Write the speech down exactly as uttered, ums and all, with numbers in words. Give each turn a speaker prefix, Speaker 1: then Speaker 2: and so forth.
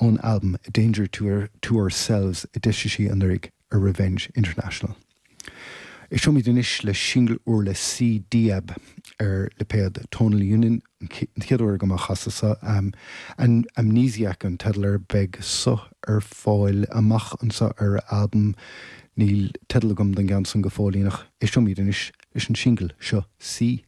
Speaker 1: Ón albam A Danger to, Our, to Ourselves a d'eisigh sí anuraidh ar Revenge International. Éisteoimid anois le singil úr le C Diab ar lipéad Tonal Union an chéad uair agam á chasadh seo um, an Amnesiac an teideal air beidh seo ar fáil amach anseo ar albam níl teideal agam don gceann san go fóillíneach éisteoimid anois leis an singil seo C